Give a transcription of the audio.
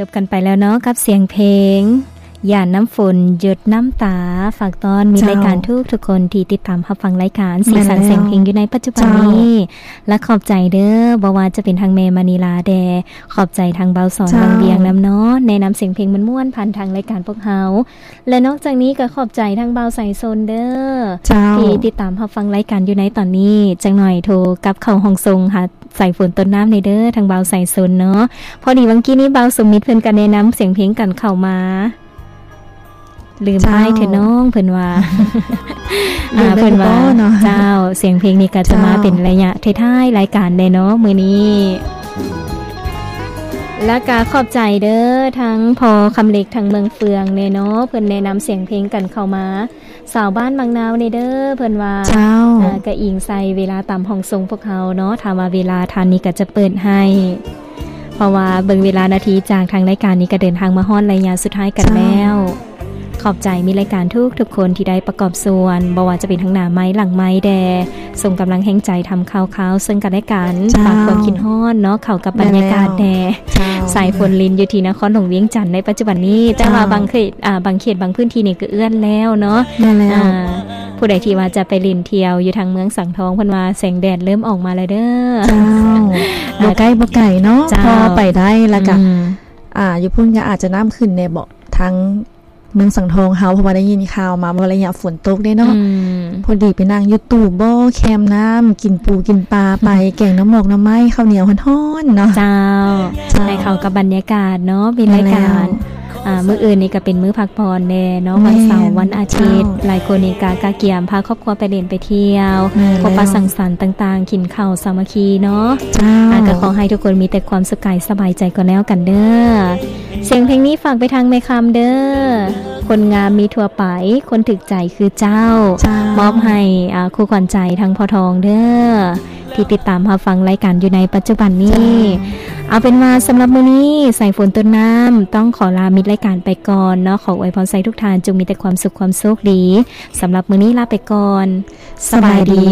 ຈົບກັນໄປແລ້ວເນາະ ກັບສຽງເພງ ຢາດນ້ຳຝົນ ຢົດນ້ຳຕາ. ຝາກຕ້ອນມິດ ເຈົ້າ ລາຍການທຸກໆຄົນທີ່ຕິດຕາມຮັບຟັງລາຍການ ແມ່ນ ສີສັນ ແລ້ວ ສຽງເພງຢູ່ໃນປັດຈຸບັນ ເຈົ້າ ນີ້ ແລະ ຂອບໃຈເດີ້ ບໍ່ວ່າຈະເປັນທາງແມ່ມະນີລາແດ່ ຂອບໃຈທາງບ່າວສອນ ເຈົ້າ ວັງວຽງນຳເນາະ ແນະນຳສຽງເພງມ່ວນໆ ຜ່ານທາງລາຍການພວກເຮົາ ແລະ ນອກຈາກນີ້ກໍຂອບໃຈທາງບ່າວສາຍຊົນເດີ້ ເຈົ້າ ທີ່ຕິດຕາມຮັບຟັງລາຍການຢູ່ໃນຕອນນີ້. ຈັກໜ່ອຍໂທກັບເຂົ້າຫ້ອງສົ່ງຫາສາຍຝົນຕົ້ນນ້ຳແດ່ເດີ້ ທາງບ່າວສາຍຊົນເນາະ. ພໍດີຫວ່າງກີ້ນີ້ບ່າວສົມມິດເພິ່ນກໍແນະນຳສຽງເພງກັນເຂົ້າມາ ລືມ ເຈົ້າ ອ້າຍເຖາະນ້ອງ ເພິ່ນວ່າ ລືມ ອ່າ ເພິ່ນວ່າ ເນາະ ເຈົ້າ ສຽງເພງນີ້ກໍຈະມາ ເຈົ້າ ເປັນໄລຍະທ້າຍໆລາຍການແດ່ເນາະມື້ນີ້. ແລ້ວກະຂອບໃຈເດີ້ ທັງພໍ່ຄຳເລັກ ທັງເມືອງເຟືອງແດ່ເນາະ ເພິ່ນແນະນຳສຽງເພງກັນເຂົ້າມາ. ສາວບ້ານມັກນາວແດ່ເດີ້ ເພິ່ນວ່າ ເຈົ້າ ອ່າ ກະອີງໃສ່ເວລາຕາມຫ້ອງສົ່ງພວກເຮົາເນາະ ຖ້າວ່າເວລາທັນນີ້ກະຈະເປີດໃຫ້ ເພາະວ່າເບິ່ງເວລານາທີຈາກທາງລາຍການນີ້ກະເດີນທາງມາຮອດໄລຍະສຸດທ້າຍກັນ ເຈົ້າ ແລ້ວ. ຂອບໃຈມິດລາຍການທຸກໆຄົນທີ່ໄດ້ປະກອບສ່ວນ ບໍ່ວ່າຈະເປັນທາງໜ້າໄມ ຫຼັງໄມແດ່ ສົ່ງກຳລັງແຮງໃຈທຳຂ່າວຄາວເຊິ່ງກັນແລະກັນ ເຈົ້າ ຝາກຄວາມຄິດຮອດເນາະ ເຂົ້າກັບບັນຍາກາດແດ່ ແມ່ນແລ້ວ ເຈົ້າ ສາຍຝົນລິນຢູ່ທີ່ນະຄອນຫຼວງວຽງຈັນໃນປັດຈຸບັນນີ້ ແຕ່ວ່າ ເຈົ້າ ບາງເຂດ ອ່າ ບາງເຂດບາງພື້ນທີ່ນີ້ກໍເອື້ອນແລ້ວເນາະ ແມ່ນແລ້ວ ອ່າ ຜູ້ໃດທີ່ວ່າຈະໄປຫຼິ້ນທ່ຽວຢູ່ທາງເມືອງສັງທອງ ເພິ່ນວ່າແສງແດດເລີ່ມອອກມາແລ້ວເດີ້ ເຈົ້າ ບໍ່ໃກ້ບໍ່ໄກເນາະ ເຈົ້າ ພໍໄປໄດ້ ແລ້ວກະ ອືມ ອ່າ ຢູ່ພຸ້ນກໍອາດຈະນ້ຳຂຶ້ນແດ່ເບາະ ທາງເມືອງສັງທອງເຮົາ ເພາະວ່າໄດ້ຍິນຂ່າວມາວ່າໄລຍະຝົນຕົກເດ້ເນາະ ອືມ ພໍດີໄປນັ່ງຢູ່ຕູ່ບໍ່ແຄມນ້ຳ ກິນປູກິນປາໄປ ແກງໜໍ່ໝອກໜໍ່ໄມ້ ເຂົ້າໜຽວຮ້ອນໆເນາະ ເຈົ້າ ເຈົ້າ ໃຫ້ເຂົ້າກັບບັນຍາກາດເນາະ ມີລາຍການ ແມ່ນແລ້ວ ອ່າ ມື້ອື່ນນີ້ກໍເປັນມື້ພັກຜ່ອນແດ່ເນາະ ແມ່ນ ວັນເສົາ ວັນອາທິດ ເຈົ້າ ຫຼາຍຄົນນີ້ກໍກະກຽມພາຄອບຄົວໄປຫຼິ້ນໄປທ່ຽວ ແມ່ນແລ້ວ ພົບປະສັງສັນຕ່າງໆ ກິນເຂົ້າສາມັກຄີເນາະ ເຈົ້າ ອ່າ ກໍຂໍໃຫ້ທຸກຄົນມີແຕ່ຄວາມສຸກກາຍສະບາຍໃຈກໍແລ້ວກັນເດີ້. ສຽງເພງນີ້ຝາກໄປທາງແມ່ຄຳເດີ້ ຄົນງາມມີທົ່ວໄປ ຄົນຖືກໃຈຄືເຈົ້າ ເຈົ້າ ມອບໃຫ້ ອ່າ ຄູ່ຂວັນໃຈທາງພໍ່ທອງເດີ້ ທີ່ຕິດຕາມຮັບຟັງລາຍການຢູ່ໃນປັດຈຸບັນນີ້ ເຈົ້າ ເອົາເປັນວ່າສຳລັບມື້ນີ້ ສາຍຝົນຕົ້ນນ້ຳຕ້ອງຂໍລາມິດລາຍການໄປກ່ອນເນາະ ຂໍອວຍພອນໃສ່ທຸກທ່ານຈົ່ງມີແຕ່ຄວາມສຸກຄວາມໂຊກດີ ສຳລັບມື້ນີ້ລາໄປກ່ອນ ສະບາຍດີ.